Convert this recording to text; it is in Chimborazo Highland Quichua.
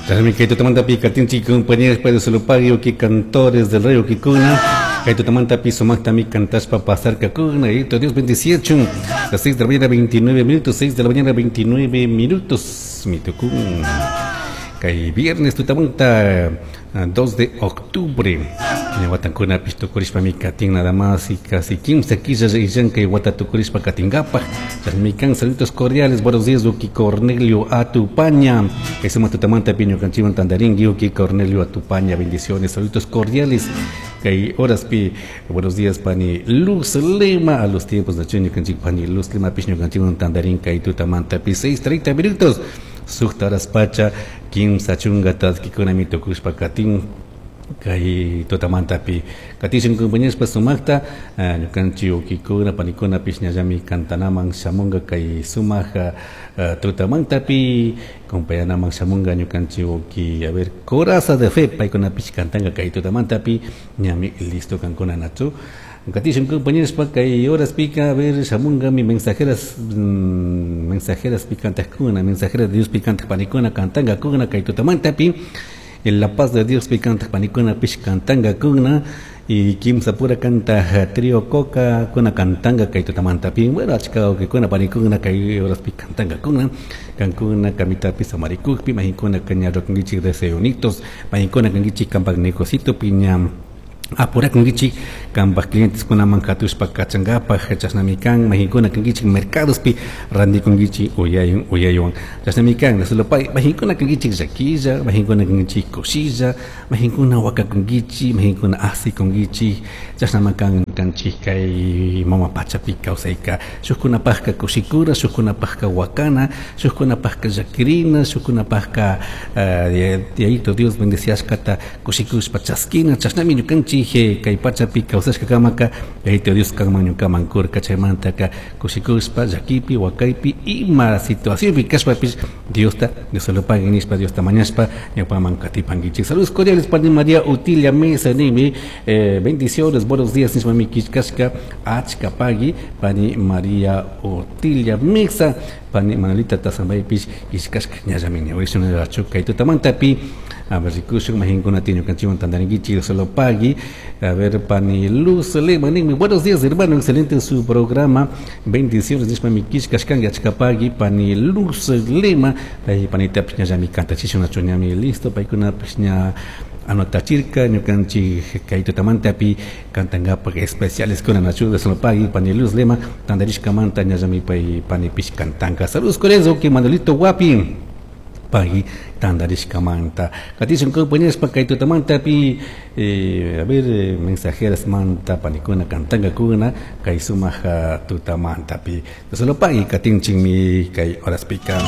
Chashnami kay tutamantapi katinchik, compañeros de Solopagui, uki cantores del rey ukikuna. Kay tutamantapi sumaktami cantashpa pasarkakuna. Y Dios bendiciachun. Las 6 de la mañana 29 minutos, 6 de la mañana 29 minutos. Mitukun. Kay viernes tutamanta 2 de octubre. Watankunapish tukurishpami katin nada más y casi 15 quillas illan kay wata tukurishpa katinkapaj. Chashnami kan. Saludos cordiales, buenos días, uki Cornelio Atupaña. Kay sumak tutamantapi ñukanchikwan tantarinki, uki Cornelio Atupaña, bendiciones, saludos cordiales. Kay horaspi, buenos días, pani Luz Lema, a los tiempos de ñukanchik pani Luz Lema pish ñukanchikwan tantarin kay tutamantapi 6:30 minutos. 6 horas pacha, 30 taskikunami tukushpa katin. Kay tutamantapi katishun, compañeros, sumakta ñukanchik ukikuna panikuna pish ñallami cantanaman shamunga kay sumak tutamantapi compañanaman shamunga ñukanchik uki, a ver, Coraza de Fe, paykunapish cantanga kay tutamantapi, ñami listo kankuna nachu. Katishun, compañeros, kay horaspika, a ver, shamunga mi mensajeras, mensajeras pi cantajkuna, mensajeras de Dios pi cantaj panikuna cantanga kuna kay tutamantapi. En la paz de Dios pi cantaj panikuna pish cantanga kuna y kimsa pura canta trío coca kuna cantanga kay tutamantapi. Bueno, achka que kuna panikuna kay horaspi cantanga kuna kankuna kamitapi samarikukpi mahinkuna kañarrokunkichik deseonitos mahinkuna kankichik kampak negocito piña apurakunkichik kampak clientes kunaman katushpa kachankapak. Chashnami kan mahinkuna kankichik mercadospi randikunkichik uyayun uyaywan. Chashnami kan nasulopay mahinkuna kankichik llakilla, mahinkuna kankichik kushilla, mahinkuna wakakunkichik, mahinkuna asikunkichik. Chashnama kan kanchik kay mama pachapi kawsayka. Shukkunapakka kushikura, shukkunapakka wakana, shukkunapakka llakirina, shukkunapakka Yayito Dios bendeciashkata kushikushpa chaskina. Chashnami ñukanchik kay pachapi kawsashka kamaka Yayito Dios kanman ñukaman kurka. Chaymantaka kushikushpa llakipi wakaypi ima situacionpi kashpapish Diosta Dios lo pague nishpa Diosta mañashpa ñawpaman katipankichik. Saludos cordiales pani María Utilia Mesa nimi, bendiciones, buenos días nishpa mi kishkashka achka pagui pani María Utilia Mesa, pani Manolita Tasambaypish kishkashka ñallami ñawishun kay tutamantapi. A ver, rikushun mahinkuna ñukanchikwan tantarinkichik solo pagui. A ver, pani Luz Lema nimi, buenos días hermano, excelente su programa, bendiciones nishpa mi kishkashkanki achka pagui pani Luz Lema. Pay panita ñallami kantachishun nachu ñami listo paykunapish ña anotachirka ñukanchik kay tutamantapi cantangapak especiales kuna nachu de solo pagui pani Luz Lema tantarishkamanta ñallami pay panipish cantanka. Saludos cordiales, ok, Manolito Guapi pagui tantarishkamanta. Katishun compañeros pa kay tutamantapi, a ver, mensajeras manta panikuna cantanga kuna kay sumaja tutamantapi. Solo pagui katinchikmi kay horaspika.